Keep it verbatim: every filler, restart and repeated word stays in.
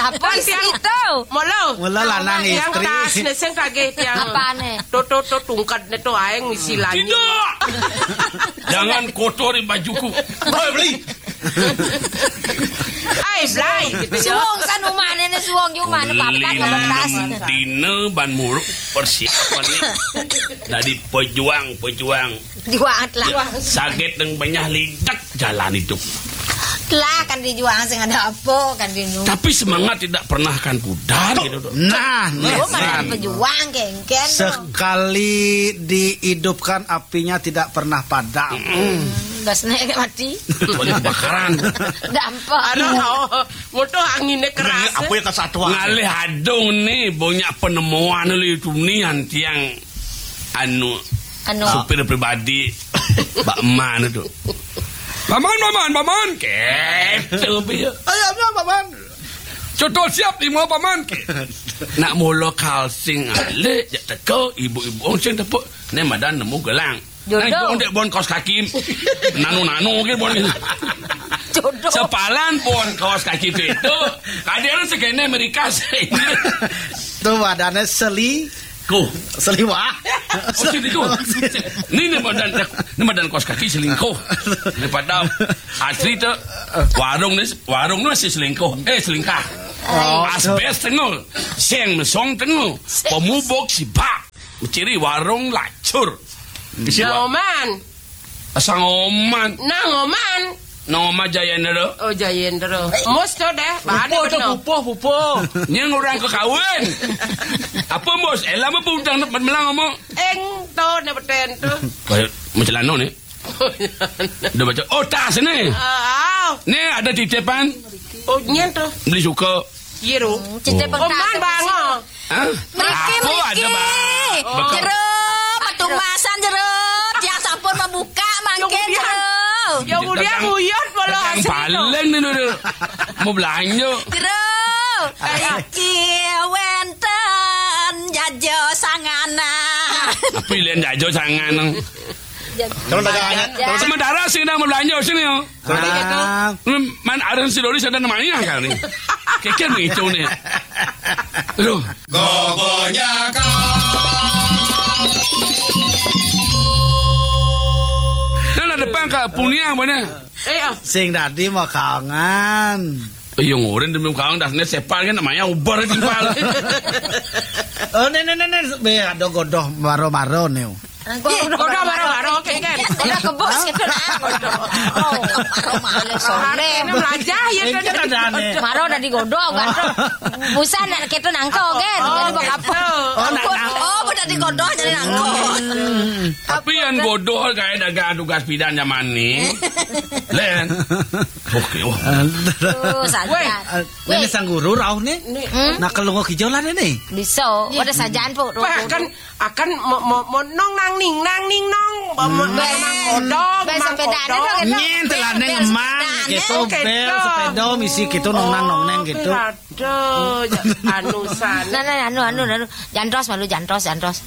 Apa isi itu? Mula. Mula lanang istri. Tiang tas ne sing kageh tiang. Apane? To, to, to, tungked ne to aeng misi lanyi. Tidak. Jangan kotori bajuku. Hei, Beli. Ai, Blai, gitu ya. Suwung san umane ne suwung yo umane papat. Beli enam dina ban muruk persiapan ne. Dari pejuang-pejuang. Juang lah. Sakit dan banyak lidak jalan hidup. Lah kan dijuang sing ada apa kan dinu. Tapi semangat tidak pernah akan pudar gitu. Nah, nah, pejuang kengken. Sekali dihidupkan apinya tidak pernah padam. Gas naik mati. Kecuali kebakaran. Dampak. Aduh, mutuh anginnya keras. Apa yang kesatuan? Ngalih adung nih, banyak penemuan lu itu nih, tiang anu, anu, supir pribadi. Mbak Eman itu. Paman, paman, paman. Gitu, piye? Ayo, ayo, paman. Contoh siap lima paman. Nak mula kalsing alih, jak teka ibu-ibu sing tepuk. Ne madan nemu gelang. Jodoh. Nah, ndek bon kaos kaki. Nanu-nanu ke bon. Jodoh. Sepalan bon kaos kaki itu. Kadang sekene Amerika sini. Tuh badannya seli. Ko. Seliwah. Oh, selingkuh. Ini, ini badan, ini badan kaos kaki selingkuh. Daripada asli tu warung ni, warung ni masih selingkuh. Eh, selingkah. Oh, asbes tengul. Seng mesong tengul. Pemubuk sibak. Menciri warung lacur. Nang Oman. Asang Oman. Nang Oman. Nang Oman Jayendra. Oh, Jayendra. Mus tu deh. Pupuh tu, pupuh, pupuh. Ni orang ke kawin. Apa, Mus? Elam apa udang nak melang ngomong? Eng tu, ni beten tu. Macam lano ni. Dah baca. Oh, tas ni. Ah. Ni ada titipan. Oh, nyen tu. Beli suka. Ye ro. Cita pengkas. Oman bang. Hah? Mriki, mriki. Jero, petumasan jero. Tiang sampun membuka mangkin jero. Ya mulia nguyut bola asli. Paling ni dulu. Mau belanja. Jero. Iki wenten jajo sangana. Tapi lain jajo sangana. Kalau dagangannya, sementara sing nang belanja sini yo. Ah. Man, ada si Doris ada namanya kali. Keker begitu ni. Aduh. Gogonya kau. Nah, depan ka punia mana? Eh, ah. Sing dadi mau kangen. Iya, ngurin demi kangen, dasarnya sepal kan namanya ubar timpal. Oh, ni, ni, ni, ni. Be, ada godoh maro-maro ni. Godoh maro-maro, oke, kan? Godoh kebus gitu, nah. Oh, maro-maro, soleh. Ini belajar ya, kan? Maro udah digodoh, kan? Busan nak kita nangko, kan? Oh, jadi buat apa? Oh, udah digodoh jadi nangko. Tapi yang godoh kayak dagang tugas pidan zaman ni. Len. Oke, wah. Tuh, sadar. Weh. Ini sang guru rauh ni. Nak kelungok hijau lah ni. Bisa. Ada sajaan, Pok. Bahkan akan mo, mo, mo, nong nang ning nang ning nong. Mo, mo, nang kodong, mang kodong. Nyen telah neng eman gitu, bel sepeda misi gitu, nong nang nong neng gitu. Aduh, anu sana. Nah, nah, anu, anu, anu. Jantros malu, jantros, jantros.